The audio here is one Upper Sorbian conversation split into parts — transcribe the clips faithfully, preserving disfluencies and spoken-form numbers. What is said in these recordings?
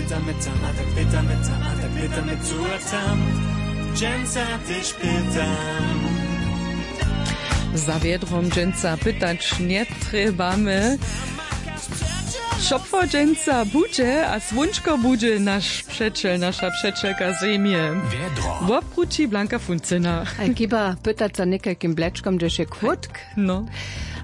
Pytamy tam, a tak pytamy tam, a tak pytamy tu a tam. Dźensa tež pytam. Za wjedrom dźensa pytać njetrjebamy. Šopło dźensa budźe a słónčko budźe naš přećel, naša přećelka zemje. Wjedro. Wobkrući Blanka Funcyna. Haj, chyba pytać za někajkim blečkom, hdźež je kłódk. No.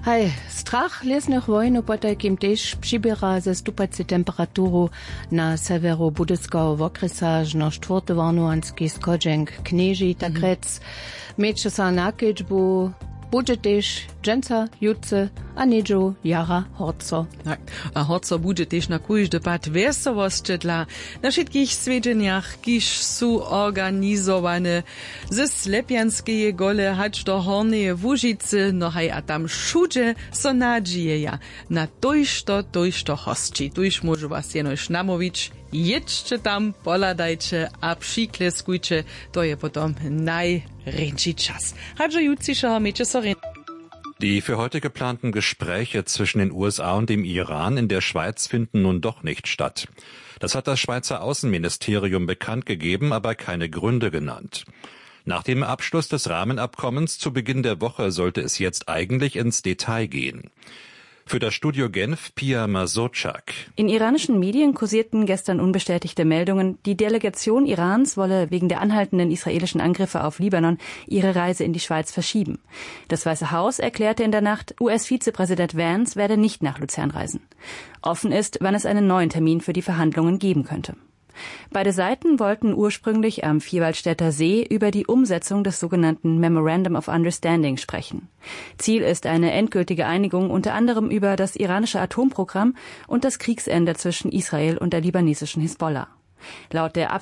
Haj, strach lěsnych wojnow potajkim tež přiběra ze stupacej temperaturu. Na sewjeru Budyskeho wokrjesa žno štwórty warnowanski schodźenk knježi, tak rjec, měće so na kedźbu. Budźe tež dźensa, jutře a něhdźe jara horco. Tak. A horco budźe tež na kóždy pad wjeselosće dla na wšitkich swjedźenjach, kiž su organizowane ze Slepjanskeje gole hač do Hornjeje Łužicy. No haj, a tam wšudźe so nadźijeja na tójšto tójšto hosći. Tuž móžu was jenož namołwić: jědźće tam, pohladajće a přikleskujće. To je potom najrjeńši čas. Hač do jutřišeho, mějće so rjeń. Die für heute geplanten Gespräche zwischen den U S A und dem Iran in der Schweiz finden nun doch nicht statt. Das hat das Schweizer Außenministerium bekannt gegeben, aber keine Gründe genannt. Nach dem Abschluss des Rahmenabkommens zu Beginn der Woche sollte es jetzt eigentlich ins Detail gehen. Für das Studio Genf Pia Mazurczak. In iranischen Medien kursierten gestern unbestätigte Meldungen, die Delegation Irans wolle wegen der anhaltenden israelischen Angriffe auf Libanon ihre Reise in die Schweiz verschieben. Das Weiße Haus erklärte in der Nacht, U S-Vizepräsident Vance werde nicht nach Luzern reisen. Offen ist, wann es einen neuen Termin für die Verhandlungen geben könnte. Beide Seiten wollten ursprünglich am Vierwaldstätter See über die Umsetzung des sogenannten Memorandum of Understanding sprechen. Ziel ist eine endgültige Einigung unter anderem über das iranische Atomprogramm und das Kriegsende zwischen Israel und der libanesischen Hisbollah. Laut der